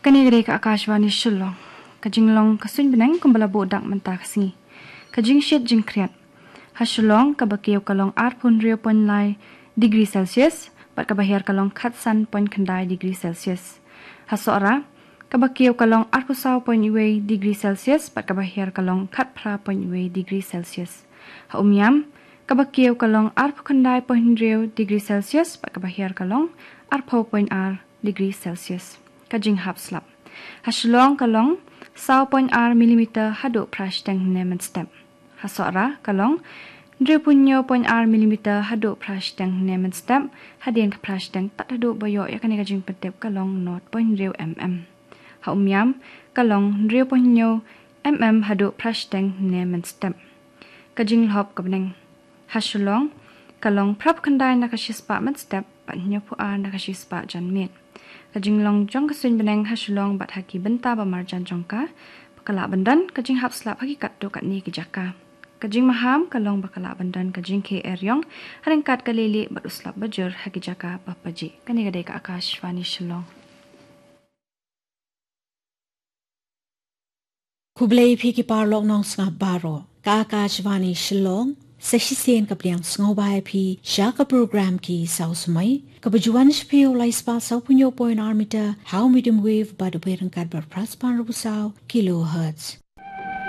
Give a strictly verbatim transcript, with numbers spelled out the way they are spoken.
Kane ka dei ka Akashvani Shillong. Ka jinglong ka suiñ bneng kumba la buh dak mynta ka sngi. Ka jingshit jingkhriat. Ha Shillong kaba kiew ka long arphew hynriew point lai degree Celsius bad kaba hiar ka long khatsan point khyndai degree Celsius. Ha Sohra kaba kiew ka long arphew saw point wei degree Celsius bad kaba hiar ka long khatphra point wei degree Celsius. Ha Umiam kaba kiew ka long arphew khyndai point hynriew degree Celsius bad kaba hiar ka long arphew point ar degree Celsius. Ka jinghap slap. Ha Shillong ka long saw point ar millimeter haduh phra shiteng hynne mynstep. Ha Sohra ka long hynriewphew hynñiew point ar millimeter haduh phra shiteng hynne mynstep. Hadien ka phra shiteng tad haduh ba ïoh ïa kane ka jingpyntip ka long nought point hynriew mm. Ha Umiam ka long hynriewphew hynñiew mm haduh phra shiteng hynne mynstep. Ka jinglhop ka bneng. Ha Shillong ka long phraphew khyndai na ka shispah mynstep bad hynñiewphew ar na ka shispah janmiet. Ka jinglong jong ka suiñ bneng ha Shillong bad ha ki bynta ba marjan jong ka, ba ka lah ban don ka jinghap slap ha ki katto katne ki jaka. Ka jingmaham ka long ba ka lah ban don ka jingkhie eriong ha ryngkat ka lieh lieh bad u slap bajur ha ki jaka ba pajih. Kane ka dei ka Akashvani Shillong. Khublei phi ki paralok nongsngap baroh. Ka Akashvani Shillong. Sa shisien ka pdiang sngewbha ïa phi sha ka program Ki Saw Samoi kaba ju wan sha phi ha u lai spah sawphew hynñiew point ar meter ha u medium wave bad u beit ryngkat bad phra spah hynriewphew saw kilohertz.